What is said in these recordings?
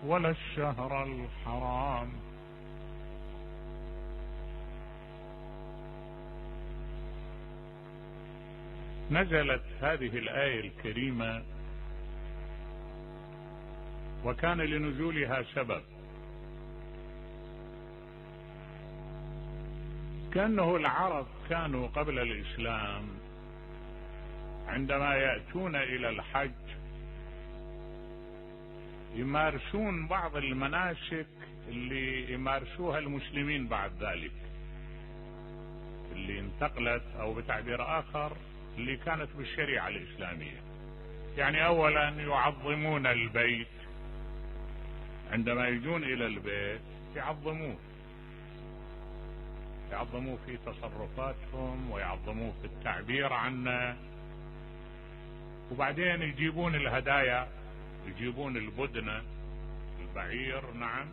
ولا الشهر الحرام. نزلت هذه الآية الكريمة وكان لنزولها سبب، كأنه العرب كانوا قبل الإسلام عندما يأتون إلى الحج يمارسون بعض المناسك اللي يمارسوها المسلمين بعد ذلك، اللي انتقلت أو بتعبير آخر اللي كانت بالشريعة الإسلامية. يعني أولا يعظمون البيت، عندما يجون إلى البيت يعظموه في تصرفاتهم ويعظموه في التعبير عنه، وبعدين يجيبون الهدايا، يجيبون البدنة، البعير، نعم،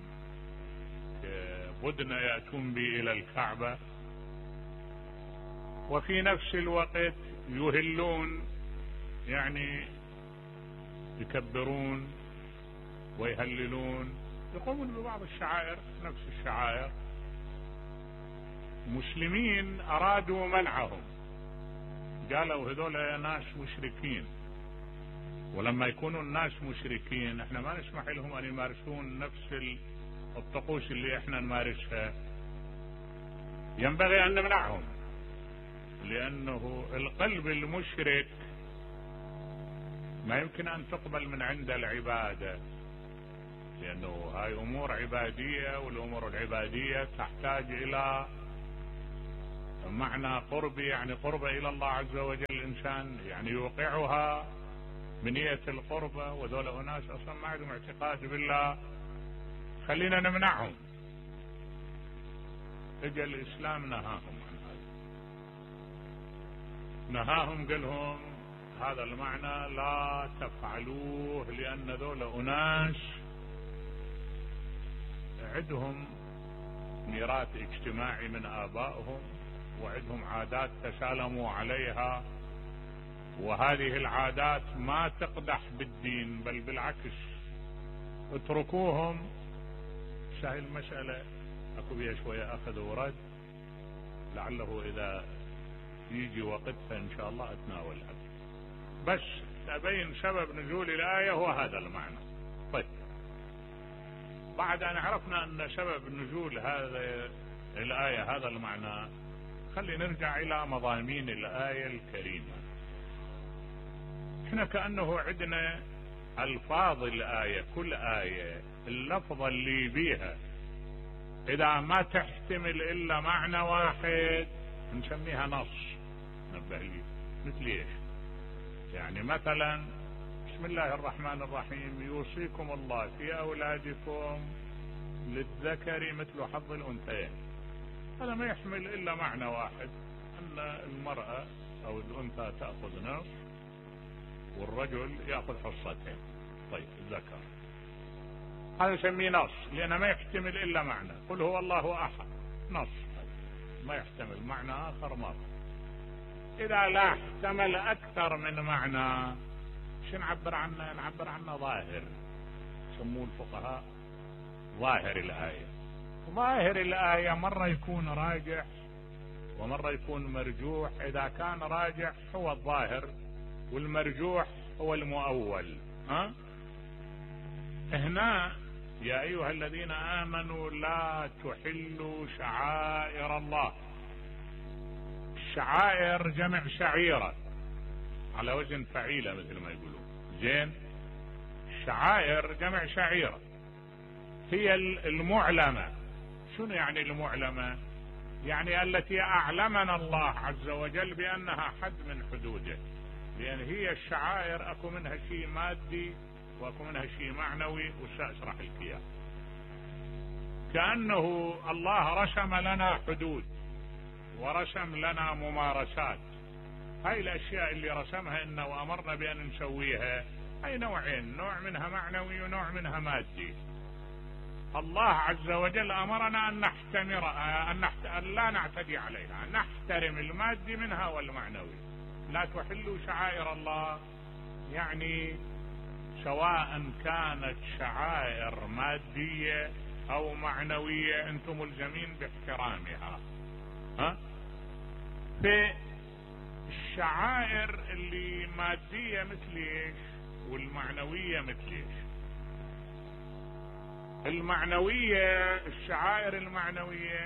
بدنة يأتون به إلى الكعبة، وفي نفس الوقت يهلون، يعني يكبرون ويهللون، يقومون ببعض الشعائر نفس الشعائر. مسلمين أرادوا منعهم، قالوا هذول ناس مشركين، ولما يكونوا الناس مشركين احنا ما نسمح لهم ان يمارسون نفس الطقوس اللي احنا نمارسها، ينبغي ان نمنعهم، لانه القلب المشرك ما يمكن ان تقبل من عند العبادة، لانه هاي امور عبادية، والامور العبادية تحتاج الى معنى قربي، يعني قربة الى الله عز وجل. الانسان يعني يوقعها بنية القربة، وذول أناس أصلا ما عندهم اعتقاد بالله، خلينا نمنعهم. اجى الإسلام نهاهم عن هذا، نهاهم، قال لهم هذا المعنى لا تفعلوه، لأن ذول أناس عندهم ميراث اجتماعي من آبائهم، وعندهم عادات تسالموا عليها، وهذه العادات ما تقدح بالدين، بل بالعكس، اتركوهم. سهل المسألة، اكو بيها شوية اخذ ورد، لعله اذا يجي وقتها ان شاء الله اتناولها، بس ابين سبب نزول الآية هو هذا المعنى. طيب، بعد ان عرفنا ان سبب نزول هذا الآية هذا المعنى، خلي نرجع الى مضامين الآية الكريمة. احنا كأنه عندنا الفاظ الآية، كل آية اللفظة اللي بيها اذا ما تحتمل الا معنى واحد نسميها نص. نبه لي مثل ايش؟ يعني مثلا بسم الله الرحمن الرحيم، يوصيكم الله في اولادكم للذكر مثل حظ الانثيين. هذا ما يحمل الا معنى واحد، ان المرأة او الانثى تأخذ نصف والرجل يأخذ حصتين. طيب، الذكر هذا نسميه نص، لأنه ما يحتمل إلا معنى. قل هو الله أحد، نص، ما يحتمل معنى آخر مرة. إذا لا احتمل أكثر من معنى شو نعبر عنه؟ نعبر عنه ظاهر، يسموه الفقهاء ظاهر الآية. ظاهر الآية مرة يكون راجح ومرة يكون مرجوح. إذا كان راجح هو الظاهر، والمرجوح هو المؤول. هنا يا أيها الذين آمنوا لا تحلوا شعائر الله. الشعائر جمع شعيرة على وزن فعيلة مثل ما يقولون، زين. الشعائر جمع شعيرة، هي المعلمة. شنو يعني المعلمة؟ يعني التي أعلمنا الله عز وجل بأنها حد من حدوده، لأن هي الشعائر أكو منها شيء مادي وأكو منها شيء معنوي، وسأشرح لك إياه. كأنه الله رسم لنا حدود ورسم لنا ممارسات. هاي الأشياء اللي رسمها إنه وأمرنا بأن نسويها هاي نوعين، نوع منها معنوي ونوع منها مادي. الله عز وجل أمرنا أن أن لا نعتدي عليها، نحترم المادي منها والمعنوي. لا تحلوا شعائر الله، يعني سواء كانت شعائر مادية او معنوية انتم ملزمين باحترامها. في الشعائر اللي مادية مثل ايش والمعنوية مثل ايش؟ المعنوية، الشعائر المعنوية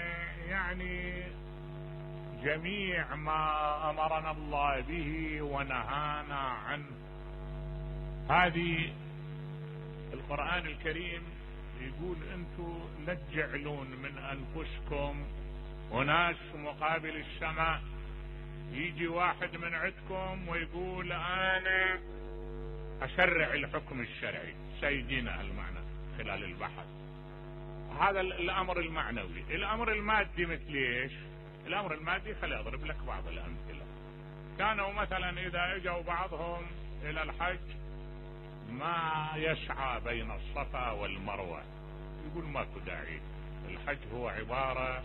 يعني جميع ما امرنا الله به ونهانا عنه. هذه القرآن الكريم يقول انتم لا تجعلون من انفسكم وناس مقابل السماء. يجي واحد من عندكم ويقول انا اشرع الحكم الشرعي، سيدنا المعنى خلال البحث. هذا الامر المعنوي. الامر المادي مثل ايش؟ الامر المادي خلي اضرب لك بعض الامثله. كانوا مثلا اذا اجوا بعضهم الى الحج ما يسعى بين الصفا والمروه، يقول ماكو داعي، الحج هو عباره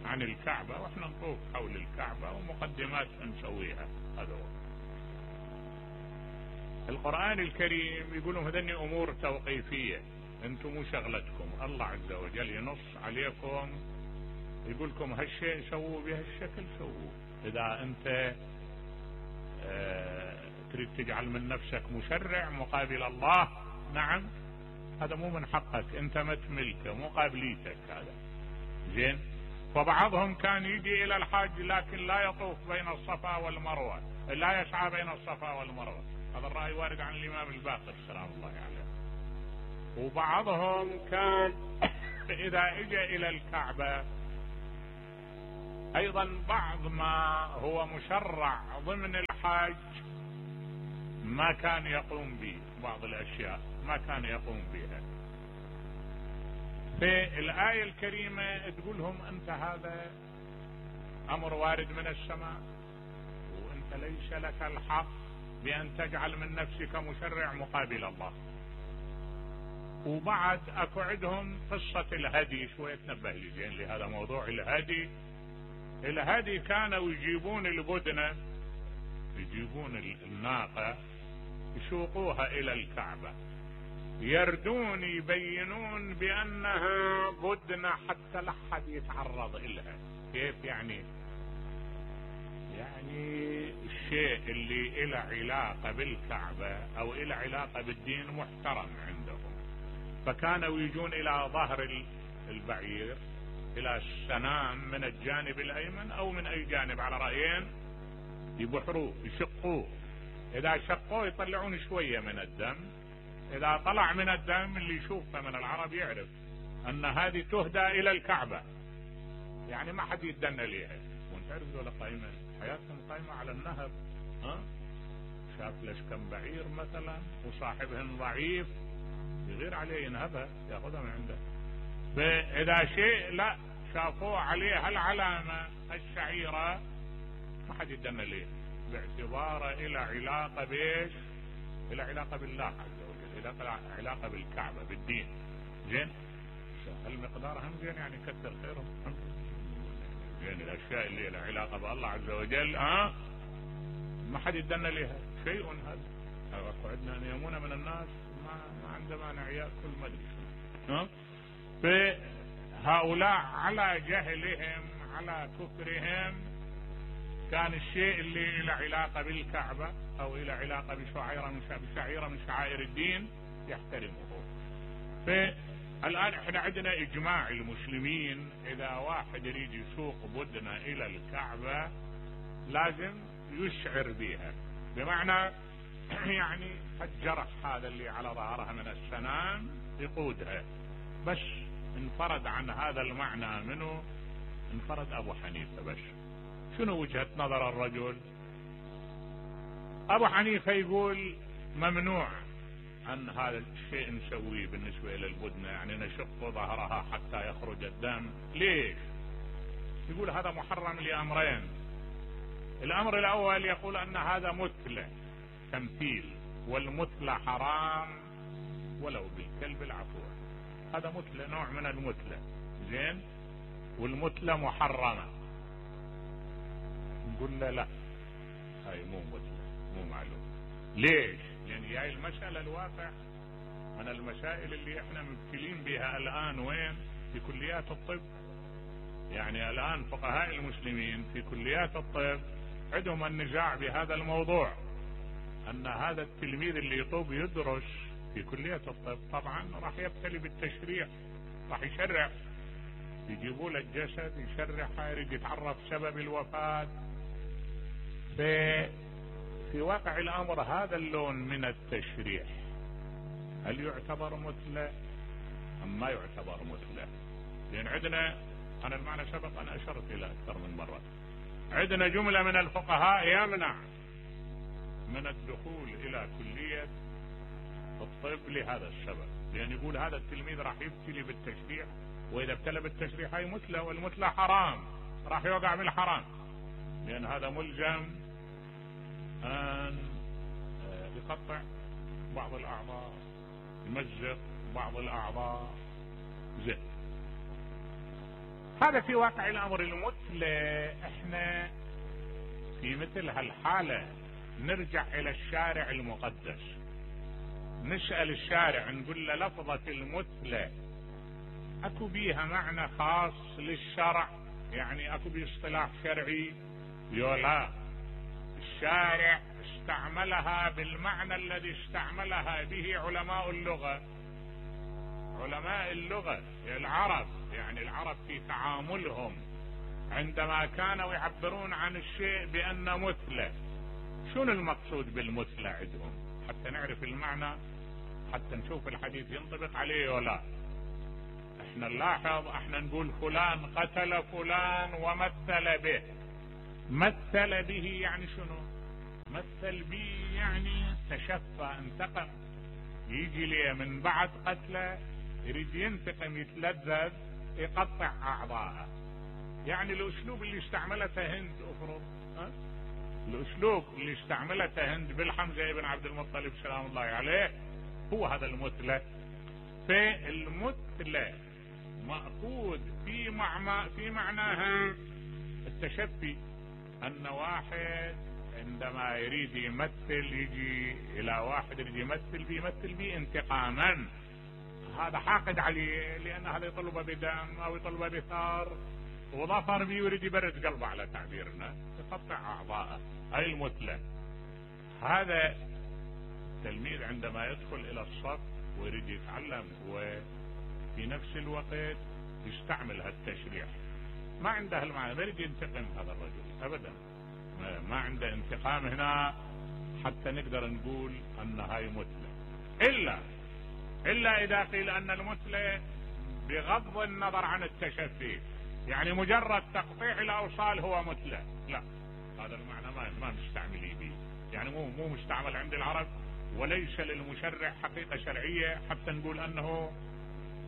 عن الكعبه واحنا نطوف حول الكعبه ومقدمات نسويها. هذا هو القرآن الكريم. يقولون هذني امور توقيفيه، انتم مو شغلتكم. الله عز وجل ينص عليكم يقول لكم هالشيء سووا بهالشكل سووه. اذا انت تريد تجعل من نفسك مشرع مقابل الله، نعم هذا مو من حقك، انت ما تملكه، مو قابليتك هذا. زين. فبعضهم كان يجي الى الحج لكن لا يطوف بين الصفا والمروه، لا يسعى بين الصفا والمروه. هذا الرأي وارد عن الامام الباقر سلام الله عليه. وبعضهم كان اذا اجى الى الكعبة ايضا بعض ما هو مشرع ضمن الحج ما كان يقوم به، بعض الاشياء ما كان يقوم بها. في الآية الكريمة تقولهم انت هذا امر وارد من السماء وانت ليس لك الحق بان تجعل من نفسك مشرع مقابل الله. وبعد اكو عندهم قصة الهدي، شوية تنبه لي زين لهذا موضوع الهدي. الهدي كانوا يجيبون البدنة، يجيبون الناقة يسوقوها الى الكعبة، يردون يبينون بانها بدنة حتى لا احد يتعرض الها. كيف يعني؟ يعني الشيء اللي له علاقة بالكعبة او له علاقة بالدين محترم عندهم. فكانوا يجون الى ظهر البعير الى السنام من الجانب الايمن او من اي جانب على رأيين، يبحروه يشقوه. اذا شقوه يطلعون شوية من الدم، اذا طلع من الدم اللي يشوفه من العرب يعرف ان هذه تهدى الى الكعبة، يعني ما حد يتدنى ليها. وانت تعرف ذولا قائمة حياتهم قائمة على النهر، شاف ليش كم بعير مثلا وصاحبهن ضعيف يغير عليه ينهبها ياخذها من عنده. فاذا شيء لا شافوه عليه هالعلامة الشعيرة ما حد يتدنى ليه، باعتباره الى علاقة بايش؟ الى علاقة بالله عز وجل، الى علاقة بالكعبة بالدين. زين. المقدار هم زين يعني كثر خيرهم. زين الاشياء اللي لها علاقة بالله عز وجل ما حد يتدنى لها شيء. هذا عندنا نيمونة من الناس ما عنده مانع ياكل مدري. فهؤلاء على جهلهم على كفرهم كان الشيء اللي له علاقة بالكعبة او له علاقة بشعيرة من شعائر الدين يحترمه. فالآن احنا عندنا اجماع المسلمين اذا واحد يريد يسوق بدنة الى الكعبة لازم يشعر بها، بمعنى يعني الجرح هذا اللي على ظهرها من السنام يقودها. بس انفرد عن هذا المعنى منه انفرد ابو حنيفة. بس شنو وجهة نظر الرجل؟ ابو حنيفة يقول ممنوع ان هذا الشيء نسويه بالنسبة الى البدنة، يعني نشق ظهرها حتى يخرج الدم. ليش؟ يقول هذا محرم لامرين. الامر الاول يقول ان هذا مثلة تمثيل، والمثلة حرام ولو بالكلب العفو. هذا مثلة نوع من المثلة. زين. والمثلة محرمة. نقول له لا هاي مو مثلة، مو معلوم. ليش؟ لان هي المسألة الواقع من المسائل اللي احنا مبتلين بها الان وين؟ في كليات الطب. يعني الان فقهاء المسلمين في كليات الطب عندهم النزاع بهذا الموضوع، ان هذا التلميذ اللي يطوب يدرس في كلية الطب طبعا راح يبتلي بالتشريح، راح يشرح، يجيبوا له الجسد يشرحه، يريد يتعرف سبب الوفاة. في واقع الامر هذا اللون من التشريح هل يعتبر مثلى ام ما يعتبر مثلى؟ لان عندنا، انا المعنى سبق انا اشرت الى اكثر من مرة، عندنا جملة من الفقهاء يمنع من الدخول الى كلية الطب لهذا السبب، لان يقول هذا التلميذ راح يبتلي بالتشريح، واذا ابتلى بالتشريح هي مثلى، والمثلى حرام، راح يوقع بالحرام، لان هذا ملزم ان يقطع بعض الاعضاء، يمزق بعض الاعضاء، زين. هذا في واقع الامر المثلى. احنا في مثل هالحالة نرجع الى الشارع المقدس، نسأل الشارع نقول له لفظة المثلى اكو بيها معنى خاص للشرع؟ يعني اكو بيه اصطلاح شرعي؟ لا، الشارع استعملها بالمعنى الذي استعملها به علماء اللغة. علماء اللغة العرب، يعني العرب في تعاملهم عندما كانوا يعبرون عن الشيء بأن مثلى، شنو المقصود بالمثلى عندهم؟ حتى نعرف المعنى، حتى نشوف الحديث ينطبق عليه ولا. احنا نلاحظ، احنا نقول فلان قتل فلان ومثل به. مثل به يعني شنو؟ مثل به يعني تشفى، انتقم، يجي ليه من بعد قتله يريد ينتقم، يتلذذ، يقطع اعضاءه. يعني الاسلوب اللي استعملته هند، افرض الاسلوب اللي استعملته هند بالحمزة ابن عبد المطلب سلام الله عليه هو هذا المثلى. فالمثلى مأخوذ في معناها التشفي، ان واحد عندما يريد يمثل يجي الى واحد يريد يمثل به انتقاما، هذا حاقد عليه لان هذا يطلبه بدم او يطلبه بثار وظفر به ويريد يبرد قلبه على تعبيرنا، يقطع اعضاءه، هاي المثلى. هذا التلميذ عندما يدخل الى الصف ويريد يتعلم وفي نفس الوقت يستعمل هالتشريح، ما عنده المعنى، ما يريد ينتقم هذا الرجل ابدا، ما عنده انتقام هنا حتى نقدر نقول ان هاي مثلى، الا اذا قيل ان المثلى بغض النظر عن التشفي، يعني مجرد تقطيع الاوصال هو مثلى، لا، هذا المعنى ما نستعمل به، يعني مو مستعمل عند العرب، وليس للمشرع حقيقة شرعية حتى نقول انه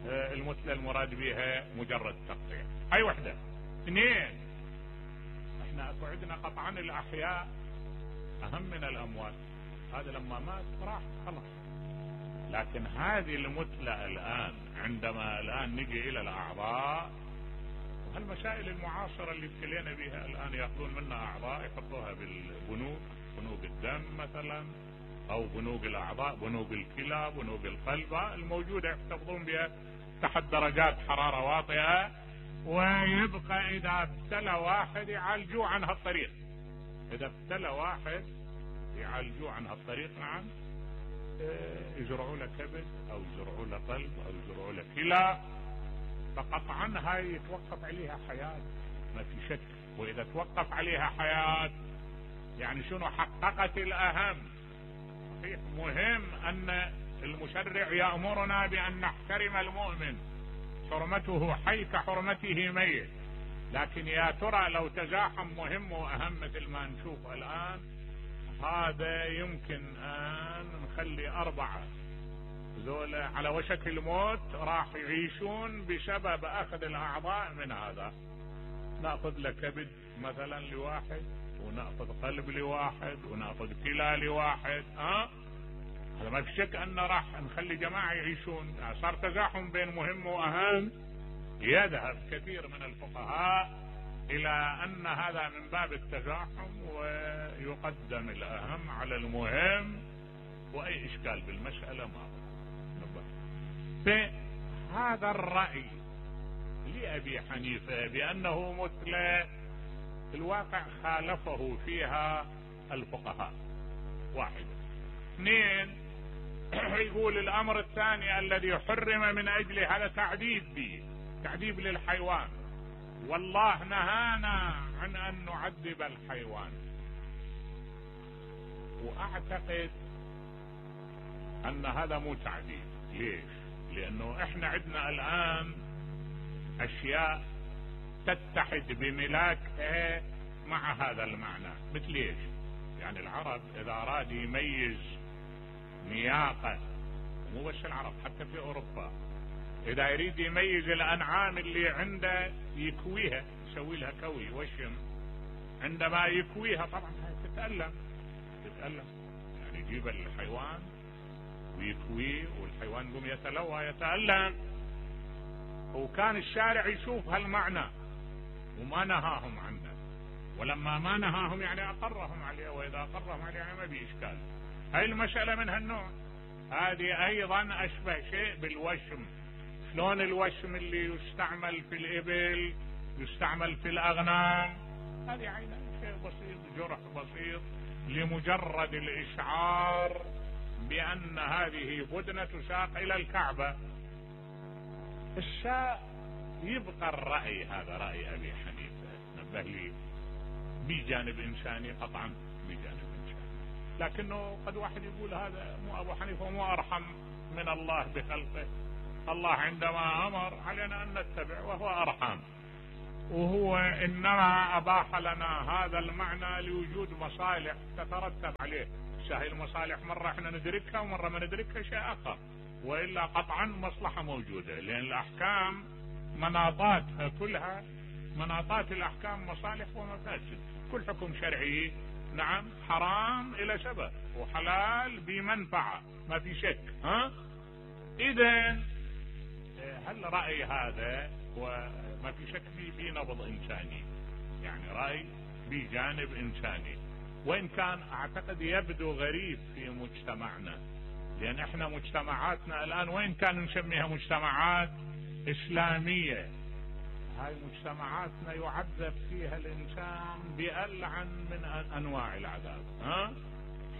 المثلى المراد بها مجرد تقطيع. هاي وحدة. اثنين، احنا اكو عندنا قطعا الاحياء اهم من الاموات، هذا لما مات راح خلاص، لكن هذه المثلى الان عندما الان نجي الى الاعضاء، هالمسائل المعاصرة اللي ابتلينا بها الان، ياخذون منا اعضاء يحطوها بالبنوك، بنوك الدم مثلا، او بنوك الاعضاء، بنوك الكلى، بنوك القلب الموجودة يحتفظون بها تحت درجات حرارة واطئة، ويبقى اذا ابتلى واحد يعالجوه عن هالطريق، اذا ابتلى واحد يعالجوه عن هالطريق، نعم، يزرعوا له كبد او يزرعوا له قلب او يزرعوا له كلى، فقطعا هاي يتوقف عليها حياة ما في شك، واذا توقف عليها حياة يعني شنو؟ حققت الاهم. صحيح مهم ان المشرع يأمرنا بان نحترم المؤمن، حرمته حي كحرمته ميت، لكن يا ترى لو تزاحم مهم واهم مثل ما نشوف الان، هذا يمكن ان نخلي 4 ذولا على وشك الموت راح يعيشون بسبب اخذ الاعضاء من هذا. ناخذ له كبد مثلا لواحد، وناخذ قلب لواحد، وناخذ كلى لواحد، هذا ما في شك ان راح نخلي جماعة يعيشون. صار تزاحم بين مهم واهم، يذهب كثير من الفقهاء الى ان هذا من باب التزاحم، ويقدم الاهم على المهم، اكو اي اشكال بالمسألة ما فهذا الرأي لأبي حنيفة بأنه مثلى الواقع خالفه فيها الفقهاء. واحد. اثنين، يقول الامر الثاني الذي حرم من اجله هذا تعذيب للحيوان، والله نهانا عن ان نعذب الحيوان. واعتقد ان هذا مو تعذيب. ليش؟ لانه احنا عندنا الان اشياء تتحد بملاكها مع هذا المعنى. مثل ايش؟ يعني العرب اذا اراد يميز نياقة، مو بس العرب حتى في اوروبا، اذا يريد يميز الانعام اللي عنده يكويها، يسوي لها كوي وشم. عندما يكويها طبعا تتألم يعني يجيب الحيوان ويكويه والحيوان يقوم يتلوى يتألم. وكان الشارع يشوف هالمعنى وما نهاهم عنه، ولما ما نهاهم يعني اقرهم عليه، واذا اقرهم عليه يعني ما في اشكال. هاي المسألة من هالنوع. هذه ايضا اشبه شيء بالوشم. شلون الوشم اللي يستعمل في الابل يستعمل في الاغنام، هذه عينه شيء بسيط، جرح بسيط لمجرد الاشعار بان هذه بدنة تساق الى الكعبة. الشاء يبقى الرأي، هذا رأي ابي حنيفة نبه لي، بجانب انساني قطعا، بجانب انساني. لكنه قد واحد يقول هذا مو ابو حنيفة مو ارحم من الله بخلقه. الله عندما امر علينا ان نتبع وهو ارحم، وهو انما اباح لنا هذا المعنى لوجود مصالح تترتب عليه. هاي المصالح مرة احنا ندركها ومرة ما ندركها شيء اخر، والا قطعا مصلحة موجودة، لان الاحكام مناطاتها كلها، مناطات الاحكام مصالح ومفاسد. كل حكم شرعي نعم حرام الى سبب وحلال بمنفعة، ما في شك. اذا هل رأي هذا وما في شك في نبض انساني، يعني رأي بجانب انساني، وان كان اعتقد يبدو غريب في مجتمعنا، لان احنا مجتمعاتنا الان وين كان نسميها مجتمعات اسلامية، هاي مجتمعاتنا يعذب فيها الانسان بألعن من انواع العذاب.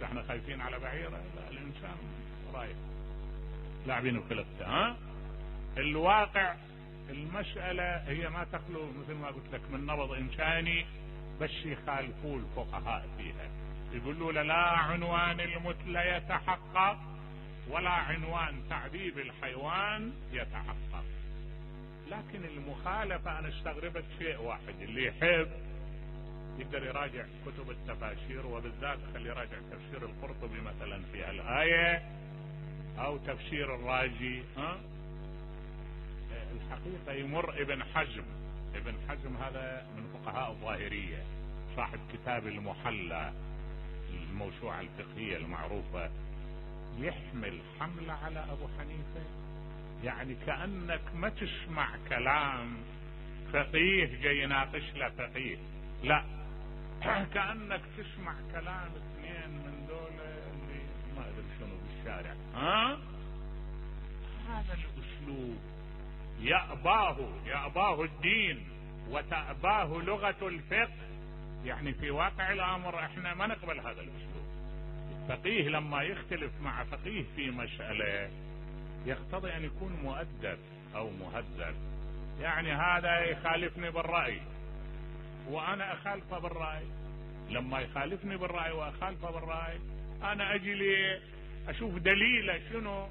احنا خايفين على بعيرة؟ لا، الانسان رايح لاعبين بخلقته. الواقع المسألة هي ما تخلو مثل ما قلت لك من نبض انساني، بس يخالفوا الفقهاء فيها، يقولوا لا عنوان المثلى يتحقق ولا عنوان تعذيب الحيوان يتحقق. لكن المخالفة انا استغربت شيء واحد، اللي يحب يقدر يراجع كتب التفاسير، وبالذات خلي يراجع تفسير القرطبي مثلا في الآية او تفسير الرازي. الحقيقة يمر ابن حزم هذا من فقهاء الظاهرية، صاحب كتاب المحلى الموسوعة الفقهية المعروفة، يحمل حملة على ابو حنيفة، يعني كأنك ما تسمع كلام فقيه جاي يناقش له فقيه، لا، كأنك تسمع كلام اثنين من دول اللي ما ادري شنو بالشارع. هذا الاسلوب يأباه الدين وتأباه لغة الفقه، يعني في واقع الامر احنا ما نقبل هذا الاسلوب. الفقيه لما يختلف مع فقيه في مسألة يقتضي ان يكون مؤدب او مهذب، يعني هذا يخالفني بالرأي وانا اخالفه بالرأي، لما يخالفني بالرأي واخالفه بالرأي انا اجي لي اشوف دليله شنو،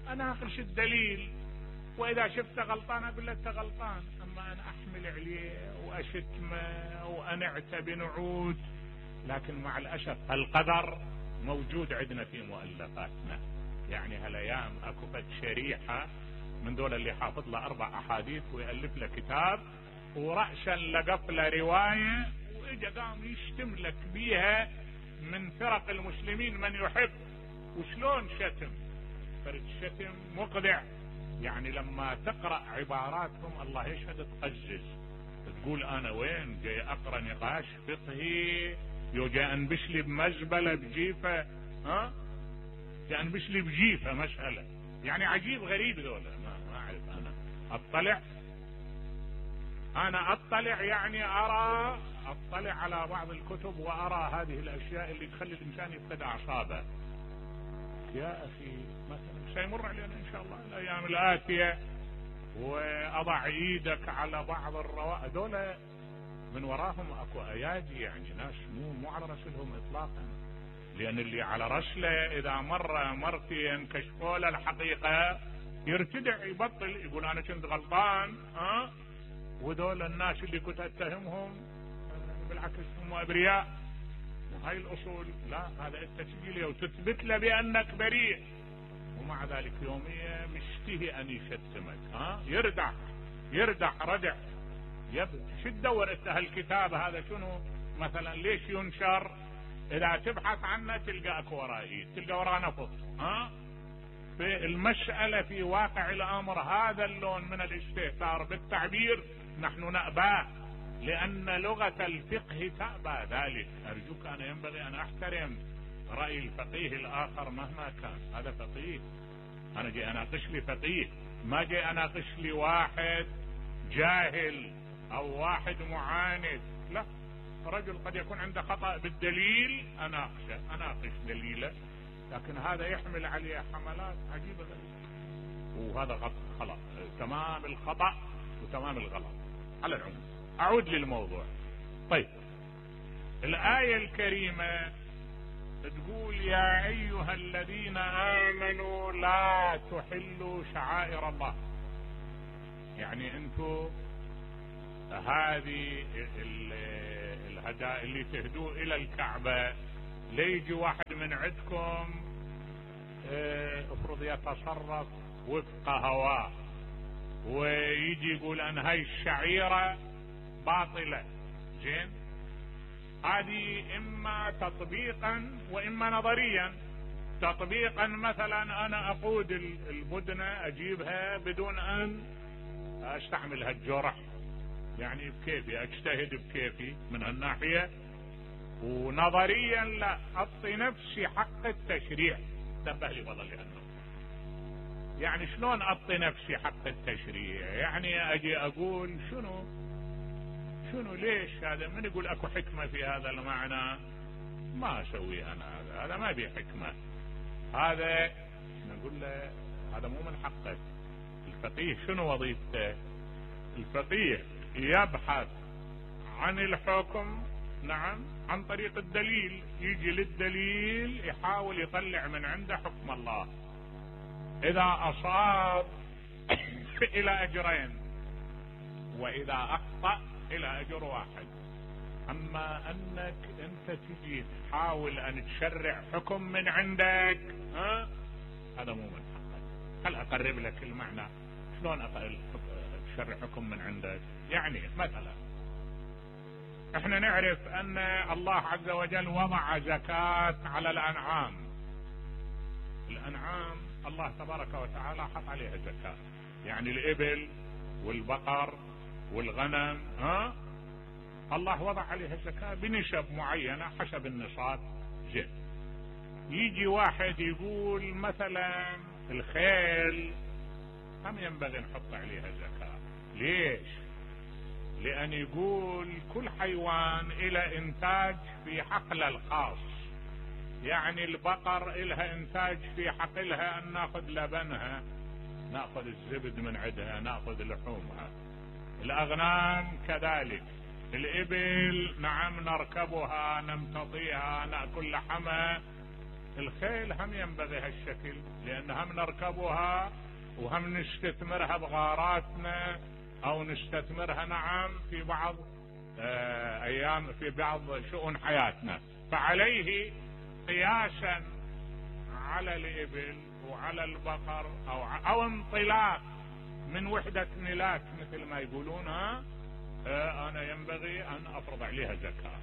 انا اخرش الدليل، واذا شفته غلطان اقول له انت غلطان، اما انا احمل عليه واشتمه وانعته بنعوت. لكن مع الاسف القدر موجود عندنا في مؤلفاتنا، يعني هالايام اكو فد شريحه من دول اللي حافظ له 4 احاديث ويالف له كتاب، ورأسا لقف له روايه واجا قام يشتم لك بيها من فرق المسلمين من يحب. وشلون شتم؟ فرد شتم مقذع، يعني لما تقرأ عباراتهم الله يشهد تقزز، تقول انا وين جاي اقرأ نقاش فقهي، جاي انبش لي بمزبلة بجيفة. يعني مش اللي بجيفها مسألة، يعني عجيب غريب ذولا. ما اعرف انا اطلع يعني اطلع على بعض الكتب وارى هذه الاشياء اللي تخلي الانسان يفقد اعصابه. يا اخي مثلا سيمر علينا ان شاء الله الايام الاتيه واضع ايدك على بعض الروائع دول من وراهم اكو ايادي، يعني ناس مو على رسلهم اطلاقا، لان اللي على رسله اذا مرتين كشفوا له الحقيقه يرتدع يبطل يقول انا كنت غلطان. ودول الناس اللي كنت اتهمهم بالعكس هم ابرياء. وهاي الاصول لا، هذا انت تجي له وتثبت له بانك بريء، ومع ذلك يوميا مشتهي ان يشتمك. يردع ردع. شو تدور انت هالكتاب هذا شنو مثلا ليش ينشر؟ اذا تبحث عنه تلقى اكو ورائي، تلقى وراه نفط. في المسألة في واقع الامر هذا اللون من الاستهتار بالتعبير نحن نأباه، لان لغة الفقه تأبى ذلك. ارجوك انا ينبغي ان احترم رأي الفقيه الاخر مهما كان، هذا فقيه. انا جاي اناقش لي فقيه، ما جاي اناقش لي واحد جاهل او واحد معاند. لا، رجل قد يكون عنده خطأ بالدليل اناقش دليله، لكن هذا يحمل عليه حملات عجيبة غريبة، وهذا خطأ تمام الخطأ وتمام الغلط. على العموم اعود للموضوع. طيب، الآية الكريمة تقول يا ايها الذين امنوا لا تحلوا شعائر الله. يعني انتو هذه الهدايا اللي تهدوا الى الكعبة ليجي واحد من عندكم افرض يتصرف وفق هواه ويجي يقول ان هاي الشعيرة باطلة. زين، هذه اما تطبيقا واما نظريا. تطبيقا مثلا انا اقود البدنة اجيبها بدون ان استعمل هالجرح، يعني بكيفي اجتهد بكيفي من هالناحية. ونظريا لا، اعطي نفسي حق التشريع. انتبه لي والله لانه يعني شلون اعطي نفسي حق التشريع؟ يعني اجي اقول شنو ليش هذا؟ من يقول اكو حكمة في هذا المعنى؟ ما اسوي انا هذا ما بيه حكمة. هذا نقول له هذا مو من حقك. الفقيه شنو وظيفته؟ الفقيه يبحث عن الحكم، نعم، عن طريق الدليل. يجي للدليل يحاول يطلع من عنده حكم الله. اذا اصاب الى اجرين، واذا اخطأ الى اجر واحد. اما انك انت تجي تحاول ان تشرع حكم من عندك، هذا مو من حقك. خل اقرب لك المعنى. شلون تشرع حكم من عندك؟ يعني مثلا احنا نعرف ان الله عز وجل وضع زكاة على الانعام. الانعام الله تبارك وتعالى حط عليها زكاة، يعني الابل والبقر والغنم، الله وضع عليها زكاة بنسب معينة حسب النصاب. زين، يجي واحد يقول مثلا الخيل هم ينبغي نحط عليها زكاة. ليش؟ لأن يقول كل حيوان إلى إنتاج في حقله الخاص. يعني البقر إلها إنتاج في حقلها أن نأخذ لبنها، نأخذ الزبد من عندها، نأخذ لحومها. الأغنام كذلك، الإبل نعم نركبها نمتطيها نأكل لحمها. الخيل هم ينبغي هالشكل، لأن هم نركبها وهم نستثمرها بغاراتنا او نستثمرها نعم في بعض ايام في بعض شؤون حياتنا. فعليه قياسا على الابل وعلى البقر او انطلاق من وحدة ملاك مثل ما يقولون، انا ينبغي ان افرض عليها زكاة.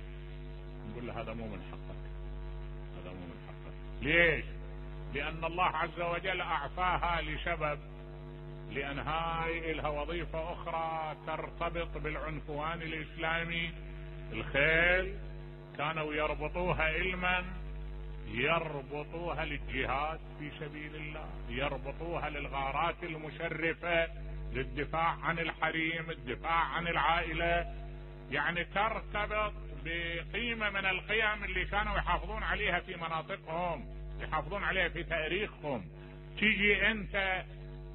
نقول له هذا مو من حقك، هذا مو من حقك. ليش؟ لان الله عز وجل اعفاها لسبب، لان هاي لها وظيفة اخرى ترتبط بالعنفوان الاسلامي. الخيل كانوا يربطوها علما يربطوها للجهاد في سبيل الله، يربطوها للغارات المشرفة، للدفاع عن الحريم، الدفاع عن العائلة، يعني ترتبط بقيمة من القيم اللي كانوا يحافظون عليها في مناطقهم، يحافظون عليها في تاريخهم. تيجي انت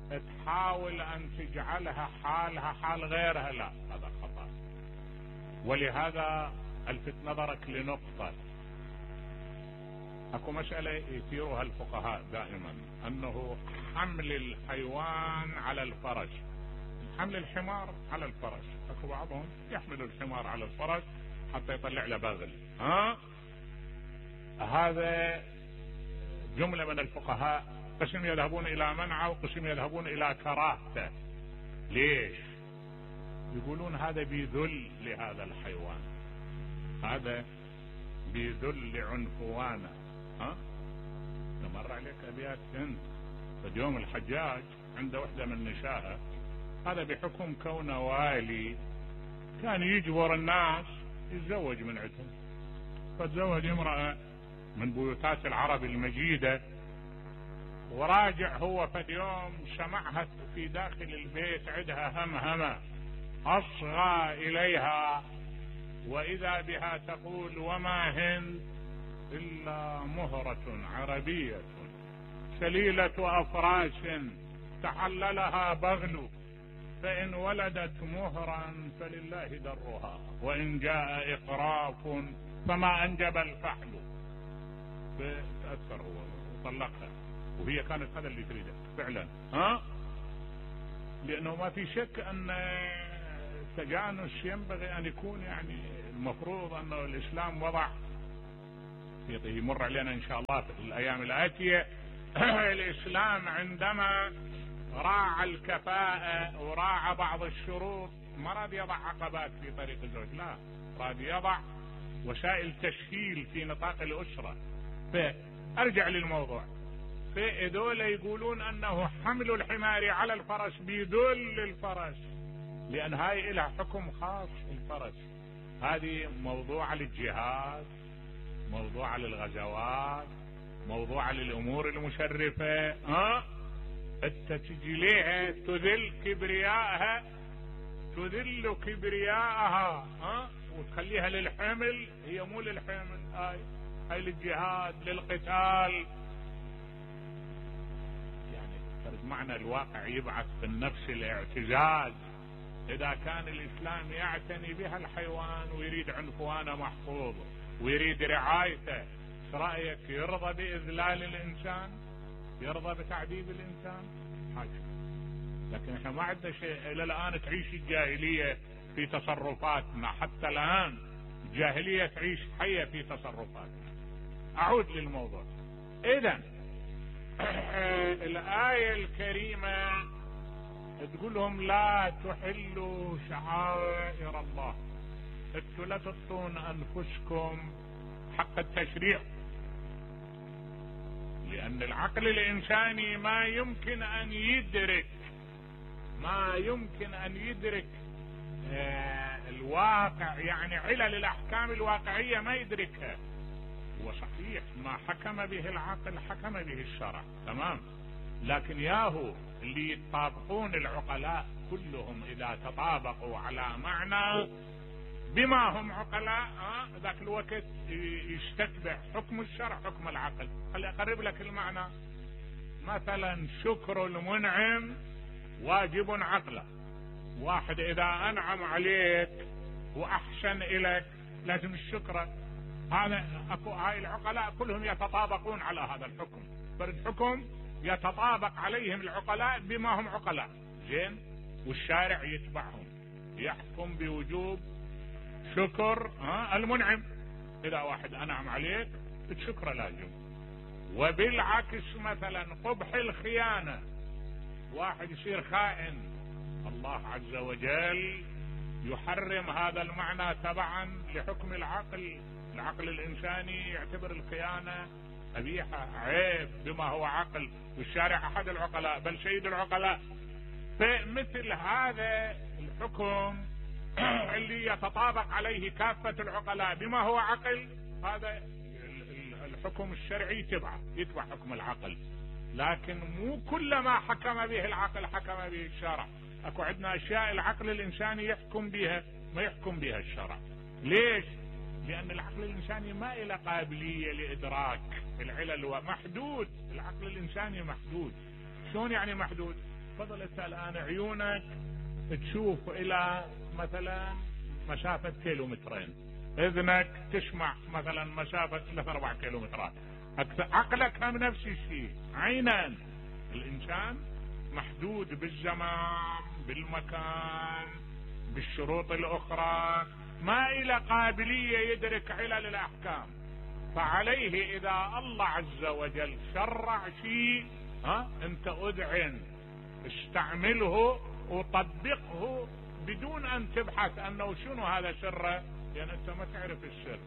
تحاول ان تجعلها حالها حال غيرها، لا، هذا خطأ. ولهذا الفت نظرك لنقطة، اكو مسألة يثيرها الفقهاء دائما، انه حمل الحيوان على الفرس، حمل الحمار على الفرس، اكو بعضهم يحمل الحمار على الفرس حتى يطلع له بغل، هذا جملة من الفقهاء، قسم يذهبون الى منعه وقسم يذهبون الى كراهته. ليش؟ يقولون هذا بيذل لهذا الحيوان، هذا بيذل لعنفوانه. تمر عليك ابيات انت فاليوم الحجاج عنده وحده من نسائه، هذا بحكم كونه والي كان يجبر الناس يتزوج من عندهم، فتزوج امرأة من بيوتات العرب المجيدة، وراجع هو فاليوم سمعها في داخل البيت عندها همهمة، أصغى إليها وإذا بها تقول: وما هند إلا مهرة عربية سليلة أفراش تحللها بغل، فإن ولدت مهرا فلله درها، وإن جاء إقراف فما أنجب الفحل. فتأثر هو وطلقها، وهي كانت هذا اللي تريده فعلا، لأنه ما في شك أن التجانس ينبغي أن يكون، يعني المفروض أنه الإسلام وضع، يمر علينا إن شاء الله في الأيام الآتية الإسلام عندما راعى الكفاءة وراعى بعض الشروط، ما راد يضع عقبات في طريق الزوج، لا، راد يضع وسائل تسهيل في نطاق الأسرة. فأرجع للموضوع، فإذول يقولون أنه حمل الحمار على الفرس بيدل الفرس، لأن هاي لها حكم خاص الفرس، هذه موضوع للجهاد، موضوع للغزوات، موضوع للأمور المشرفة. انت تجي ليها تذل كبريائها، تذل كبريائها، وتخليها للحمل، هي مو للحمل، هاي للجهاد للقتال. يعني فرد معنى الواقع يبعث في النفس الاعتزاز. اذا كان الاسلام يعتني بها الحيوان ويريد عنفوانه محفوظ ويريد رعايته، ايش رايك؟ يرضى باذلال الانسان؟ يرضى بتعذيب الانسان؟ حاجة. لكن احنا ما عندنا شيء الى الان، تعيش الجاهليه في تصرفاتنا، حتى الان الجاهليه تعيش حيه في تصرفاتنا. اعود للموضوع. اذا الايه الكريمه تقول لهم: لا تحلوا شعائر الله، انتوا لا تعطون انفسكم حق التشريع، لأن العقل الإنساني ما يمكن أن يدرك الواقع، يعني علل الأحكام الواقعية ما يدركها. وصحيح ما حكم به العقل حكم به الشرع، تمام، لكن ياهو اللي يتطابقون العقلاء كلهم إذا تطابقوا على معنى بما هم عقلاء، ذاك الوقت يستتبع حكم الشرع حكم العقل. خلي اقرب لك المعنى. مثلا شكر المنعم واجب عقله، واحد اذا انعم عليك واحسن اليك لازم الشكر، هذا اكو، هاي العقلاء كلهم يتطابقون على هذا الحكم، فالحكم يتطابق عليهم العقلاء بما هم عقلاء، زين، والشارع يتبعهم، يحكم بوجوب شكر المنعم. اذا واحد انعم عليك الشكر لازم. وبالعكس مثلا قبح الخيانة، واحد يصير خائن، الله عز وجل يحرم هذا المعنى تبعا لحكم العقل. العقل الانساني يعتبر الخيانة قبيحة عيب بما هو عقل، والشارع احد العقلاء بل سيد العقلاء. فمثل هذا الحكم اللي يتطابق عليه كافة العقلاء بما هو عقل، هذا الحكم الشرعي يتبع حكم العقل، لكن مو كل ما حكم به العقل حكم به الشرع. اكو عندنا اشياء العقل الانساني يحكم بها ما يحكم بها الشرع. ليش؟ لان العقل الانساني ما له قابلية لادراك العلل، محدود. العقل الانساني محدود. شلون يعني محدود؟ تفضل انت الان عيونك تشوف الى مثلا مسافة 2 كيلومترين، اذنك تسمع مثلا مسافة 3-4 كيلومترات، عقلك هم نفس الشيء. عينا الانسان محدود بالزمان بالمكان بالشروط الاخرى، ما الى قابلية يدرك علل الاحكام. فعليه اذا الله عز وجل شرع شيء انت اذعن استعمله وطبقه بدون ان تبحث انه شنو هذا سره، لان انت ما تعرف السر،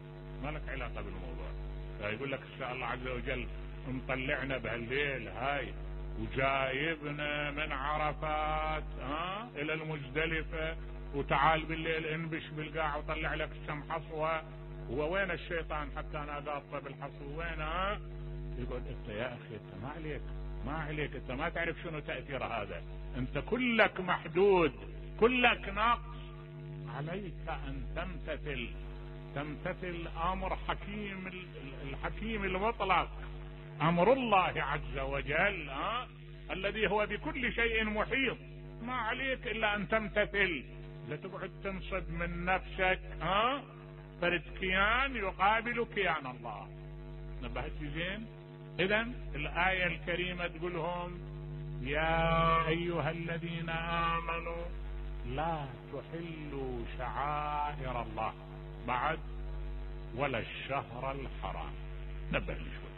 ما لك علاقة بالموضوع. فيقول لك الله عز وجل مطلعنا بهالليل هاي وجايبنا من عرفات الى المزدلفة، وتعال بالليل انبش بالقاع وطلع لك السم حصوة. هو وين الشيطان حتى انا قاطه بالحصو؟ وين يقول انت يا اخي انت ما عليك انت ما تعرف شنو تأثير هذا، انت كلك محدود كلك ناقص. عليك ان تمتثل امر الحكيم المطلق، امر الله عز وجل الذي هو بكل شيء محيط. ما عليك الا ان تمتثل، لا تقعد تنصب من نفسك فرد كيان يقابل كيان الله. نبهت زين؟ اذا الآية الكريمة تقولهم يا ايها الذين امنوا لا تحلوا شعائر الله بعد ولا الشهر الحرام. نبه شوي.